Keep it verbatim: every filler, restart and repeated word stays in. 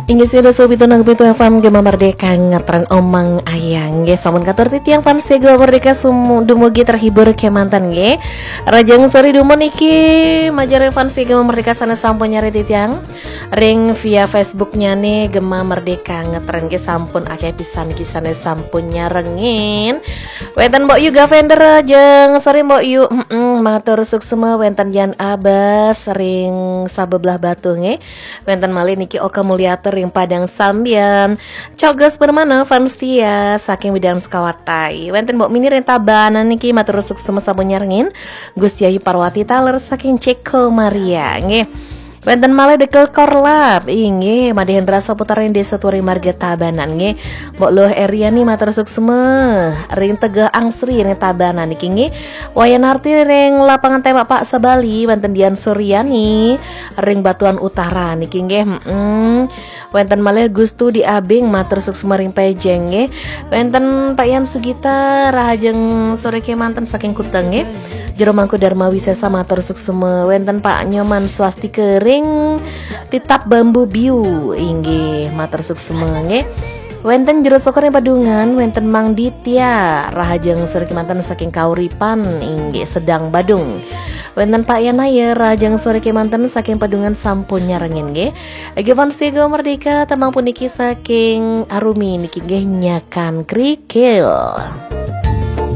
Inggih, sida sobi tunang pitu F M Gema Merdeka ngetren Omang Ayang nggih, sampun katur titiang fans Gema Merdeka sum-, dumugi terhibur kemanten nggih. Rahajeng sore dumun niki majeng fans Gema Merdeka sane sampun nyare titiang ring via Facebooknya nih Gema Merdeka ngetren nggih, sampun akeh pisan niki sane sampun nyarengin. Wenten Mbok Yu Gavender, rahajeng sore Mbok Yu. Mm-mm, matur suksma. Wenten Yan Abas ring Sabebelah Batu nggih. Wenten malih niki Oka Mulyata ring Padang Sambian. Coges Permana fans setia saking Widang Sukawati. Wenten Mbok Mini ring Tabanan niki matur suksma sampun nyarengin. Gusti Ayu Parwati taler saking Ceko Maria nggih. Wenten malih Dekel Korlap, inggih, Made Hendra Saputra ring Desa Turi Marga Tabanan nggih. Mbok Luh Eriani matur suksma ring Tegeh Angsri ring Tabanan niki nggih. Wayan Arti ring Lapangan Tembak Pak Sabali, wenten Dian Suryani ring Batuan Utara niki nggih. Mm-mm. Wenten malih Gustu di Abing matur suksma ring Pejeng nggih. Wenten Pak Yan Sugita, rahajeng sore kemanten saking Kuteng nggih. Jero Mangku Dharma Wisesa matur suksma. Wenten Pak Nyoman Swastika ring Titap Bambu Biu, inggih, matur suksma nggih. Wenten Jero Sokor ring Padungan, wenten Mang Ditya, rahajeng sore kemanten saking Kauripan, inggih, Sedang Badung. Wenten Pak Yanaya, rahajeng sore kemanten saking Padungan sampun nyarengin nggih. Nggih, fans Gema Merdeka, tembang puniki saking Arumi niki nggih, Nyakan Krikil.